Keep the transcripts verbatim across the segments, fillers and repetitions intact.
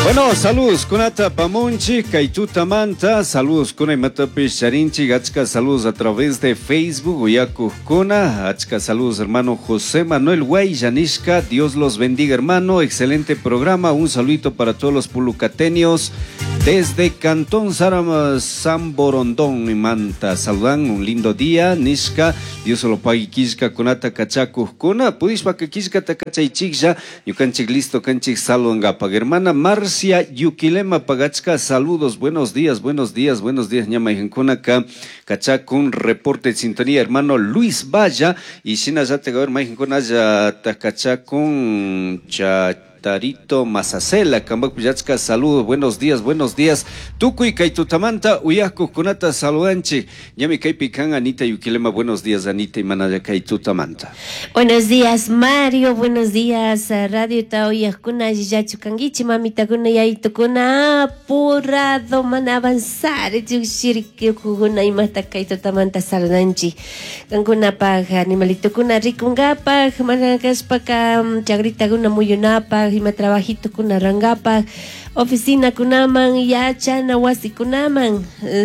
Bueno, saludos kunata pamunchi, kay tutamanta, saludos kuna imatapish charinchi, achka saludos a través de Facebook, uyakujkuna, achka saludos hermano José Manuel Guayanishka, Dios los bendiga hermano, excelente programa, un saludito para todos los pulucatenios desde Cantón Saram, San Borondón, Manta, saludan, un lindo día, nishka, Dios lo pague kishka kunata kachakujkuna, pudishpa que kishka takachaychiklla, ñukanchik listo kanchik saludangapak, hermana Marcia Yuquilema Pagachka, saludos, buenos días, buenos días, buenos días, ñama ka kachakun reporte de sintonía, hermano Luis Valla, y shinallata hermano ya takachakun cha Tarito Mazacela, Kambak Pillachka, saludos, buenos días, buenos días. Tukuy kay tutamanta, uyakujkunata saludanchik. Ñami kaypi kan Anita Yuquilema, buenos días, Anita y Manaya kay tutamanta. Buenos días, Mario, buenos días, Radio Taoyakuna, Yiyachu kankichi, mamitakuna, yayitukuna, apurado, mana avanzar, llukshirikuna, imata kay tutamanta saludanchik. Kankunapaj, animalitukuna, rikunkapaj, mana kashpaka, chagritakuna muyunapaj, ima trabajito kuna rangapaj, oficina kunaman, yachana wasikunaman,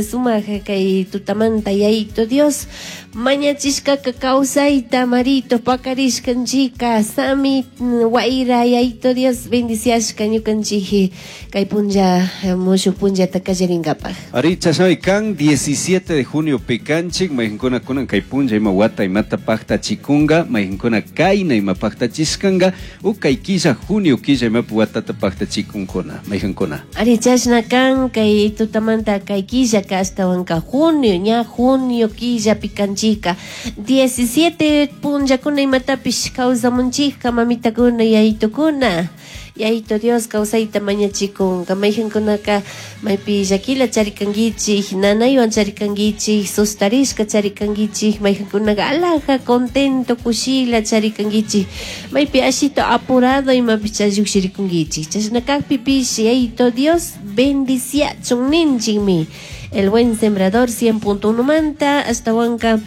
sumaq kay tutamanta yayito Dios, mañachishkaka kawsayta marito pakarishkanchika, sami wayra yayito Dios bendiciashka ñukanchik kay punlla mushuq punllata kallarinkapaj. Ari chashnami kan diecisiete de junio pikanchik, mayqinkuna kunan kay punlla ima wata imata paqtachikunqa, mayqinkuna kayna ima paqtachishkanqa, u kay killa junio killa imapi watata paqtachikunkuna, mayqinkuna. Ari chashna kan kay tutamanta kay killaka ashtawanka junio, ña junio killa pikanchika, diecisiete punllakuna imatapish kawsamunchikka mamitakuna yayitukuna. Yayito Dios kawsayta mañachikunka, mayqinkunaka maypi llakila charikankichik, nanaywan charikankichik, sustarishka charikankichik, mayqinkunaka alaja contento kushila charikankichik, maypi ashito apurado imapish lluqshirikunkichik, chashna kaqpipish Yayito Dios bendiciachun ninchikmi. El buen sembrador cien punto uno manta ashtawanka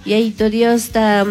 Yayito Dios ta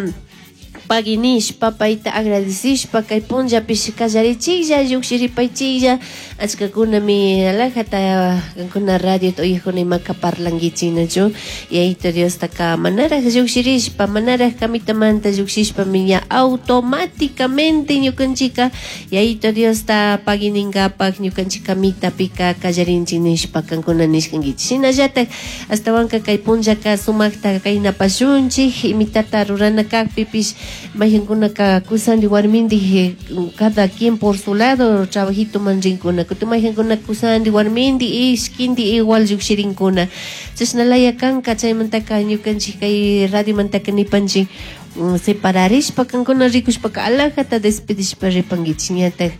paginishpa payta agradecishpa kay punllapish kallarichiklla lluqshiripaychiklla achkakunami alajata kankuna radio uyakuna imaka parlankichik nachu Yayito Diostaka manaraj lluqshirishpa manaraj kamitamanta lluqshishpami ña automáticamente ñukanchika Yayito Diosta pagininkapaj ñukanchik kamitapika kallarinchik nishpa kankuna nishkankichik shinallatak ashtawanka kay punllaka sumakta kaynapashunchik imitata rurana kaqpipish mayqinkunaka kusandi warmindi cada quien por su lado trabajito man rinkuna kutin mayqinkuna kusandi warmindi ishkindi igual lluqshirinkuna chashnalaya kanka chaymantaka ñukanchik kay radiomantaka nipanchik separarishpa kankuna rikushpaka alajata despedishpa ripankichik ñatak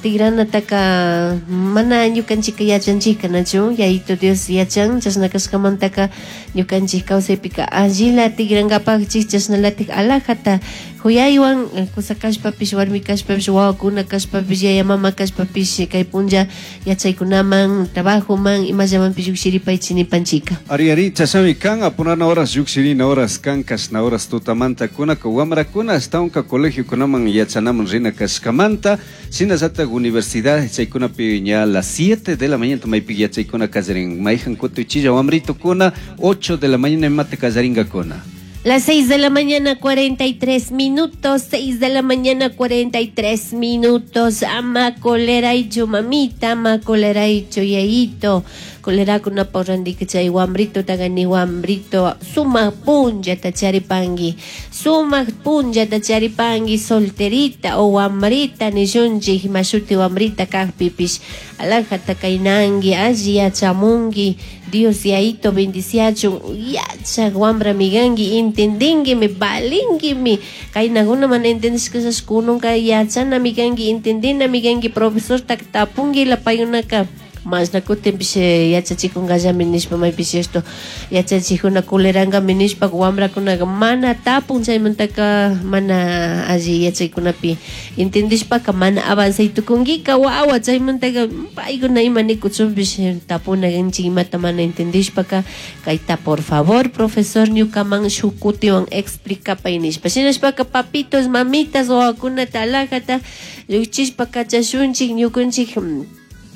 tigranataka mana ñukanchika yachanchika nachu Yayito Dios yachan chashna kashkamantaka ñukanchik kawsaypika allila tigrankapakchik chashnalatik alajata huyaywan kusa kashpapish warmi kashpapish wawakuna kashpapish yaya mama kashpapish kay punlla yachaykunaman trabajoman imallamanpish lluqshiripaychik nipanchika. Ari ari chashnami kan apurana horas lluqshirina horas kan kashna horas tutamanta kunaka wamrakuna ashtawanka colegiokunaman yachanaman rina kashkamanta shinallatak universidad chaykunapi ña las siete de la mañana maypi yachaykuna kallarin mayjan kutu chilla wamritukuna ocho de la mañana imata kallarinkakuna. Las seis de la mañana cuarenta y tres minutos, seis de la mañana cuarenta y tres minutos. Ama koleraychu mamita, ama koleraychu yayito. Kolerakuna porrandika chay wambrito tagani wambrito. Sumaq punllata charipanki, sumaq punllata charipanki solterita o wambrita nishunchik mashuti wambrita kaqpipish. Alajata kaynanki, alli yachamunki. Dios yayito bendiciachun, yachaq wambra miganki, entendinkimi, valinkimi. Kaynakuna mana entendishkashash kununka yachana miganki, entendina miganki, profesorta tapunki la paykunaka. Mashna kutinpish yachachikunkallami nishpa maypish esto yachachikuna kulerankami nishpa wambrakunaka mana tapun chaymantaka mana alli yachaykunapi entendishpaka mana avanzay tukunkika wawa chaymantaka paykuna ima nikuchunpish tapuna kanchik imata mana entendishpaka kayta por favor profesor ñukaman shuk kutiwan explicapay nishpa shinashpaka papitos mamitas wawakunata alajata lluqchishpa kachashunchik ñukunchik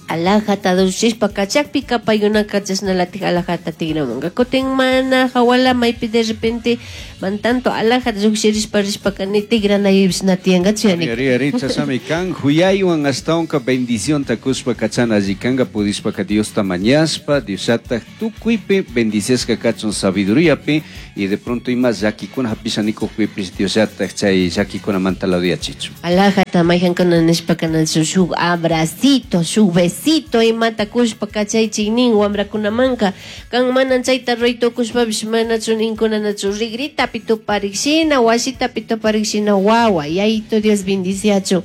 Alajata llushishpa kachakpika paykunaka chashnalatik alajata tigramunka. Kutin mana hawala maypi de repente man tanto alajata llukshirishpa rishpaka ni tigranaypish na tiyankachu yani. Ari, ari, chashnami kan huyaywan ashtawanka bendicionta kushpa kachana alli kanka pudishpaka Diosta mañashpa Diosllatak tukuypi bendiciashka kachun sabiduriapi y de pronto ima llakikuna hapisha nikukpipish Diosllatak chay llakikunamanta laduyachichun. Alajata mayhankuna nishpaka nachu shuk abracito, shuk besito imata kushpa kachaychik nin wamrakunamanka kan mana chayta ruray tukushpapish manachu ninkuna nachu rigritapi tuparikshina wasitapi tuparikshina wawa yayito Dios bendiciachun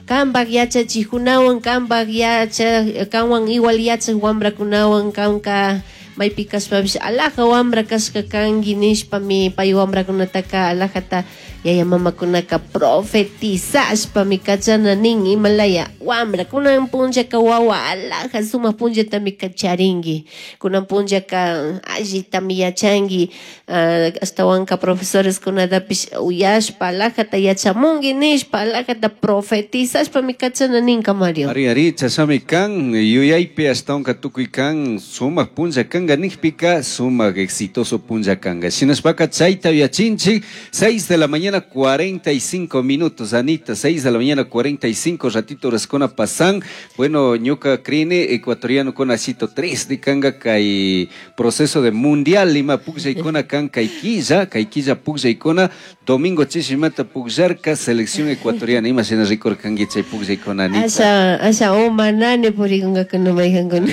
kanpak yachachikkunawan kanpak yacha kanwan igual yachak wamrakunawan kanka maypi kashpapish alaja wamra kashka kanki nishpami pay wamrakunataka alajata yaya mamakunaka profetizashpami kachana nin imalaya wamra kunan punllaka wawa alaja sumak punllatami kacharinki kunan punllaka allitami yachanki uh, ashtawanka profesores kunatapish uyashpa alajata yachamunki nishpa alajata profetizashpami kachana ninka Mario. Ari, ari, chashami kan yuyaypi ashtawanka tukuy kan sumak punlla kanka nikpika sumak exitoso punlla kanka shinashpaka chayta yachinchik seis de la mañana cuarenta y cinco minutos, Anita, seis de la mañana cuarenta y cinco, ratito horaskuna pasan. Bueno, ñuka crine ecuatoriano con asito tres de kanga kay proceso de mundial lima pukllaykuna kan kay killa, kay killa pukllaykuna domingo chishimata pukllarka selección ecuatoriana ima shina rikurkanki chay pukllaykuna, Anita. Asha, asha umanani purikunkakuna mayhankuna.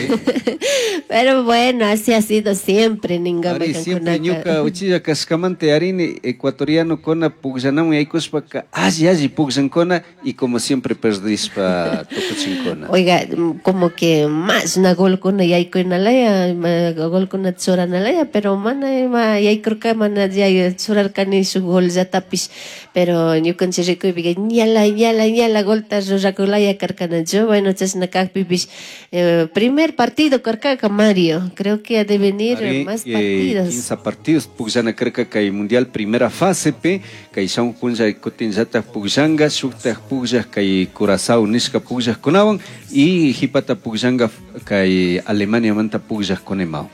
Pero bueno, así ha sido siempre, ninga Ari, siempre ñuka uchilla kashkamanta arini ecuatoriano kona pukllanamun yaykushpaka alli alli pukllankuna y como siempre perdishpa tukuchinkuna. Oiga, como que más na golkuna yaykunalaya, golkuna churanalaya, pero mana ima yaykurka mana yay churarkani shuk gollatapish, pero ñukanchik rikuypika ñala ñala ñala golta rurakulaya karkanachu. Bueno, chashna kakpipish eh, primer partido karkaka Mario, creo que ha de venir Ari, más eh, partidos. quince partidos pukllana karka kay mundial primera fase pe kay shamun punlla kutinllatak pukllanka shuktak pukllak kay Curazao nishka pukllakkunawan y hipata pukllanka kay Alemaniamanta pukllakkunawan.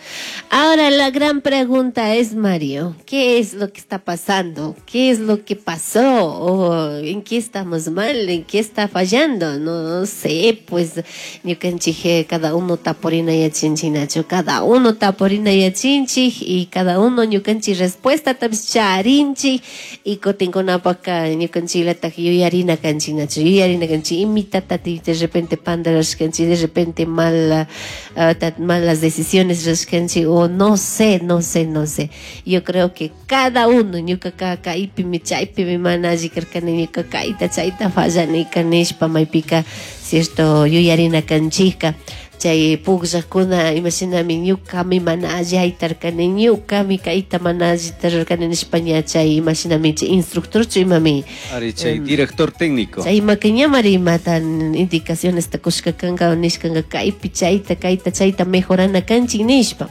Ahora la gran pregunta es, Mario, ¿qué es lo que está pasando? ¿Qué es lo que pasó? ¿O en qué estamos mal? ¿En qué está fallando? No sé, pues ñukanchik cada uno tapurina yachinchinachu, cada uno tapurina yachinchik y cada uno ñukanchik respuesta tapish charinchik y kutinkunapaka ñukanchiklatak yuyarina kanchinachu, yuyarina kanchik imitata de repente pandarashkanchik, de repente mal, uh, malas decisiones rashkanchik o no sé, no sé, no sé. Yo creo que cada uno ñukaka kaypimi chaypimi mana alli karkani ñuka kayta chayta fallanika nishpa maypika cierto yuyarina kanchikka. Chay pukllakuna imashinami ñukami mana alli haytarkani ñukami kayta mana allita rurarkani nishpa ña chay imashinami chay instructorchu imami Ari, chay director técnico. Chay imaka ñamari imata indicaciones ta kushka kanka nishkanka kaypi chayta kayta chayta mejorana kanchik nishpa.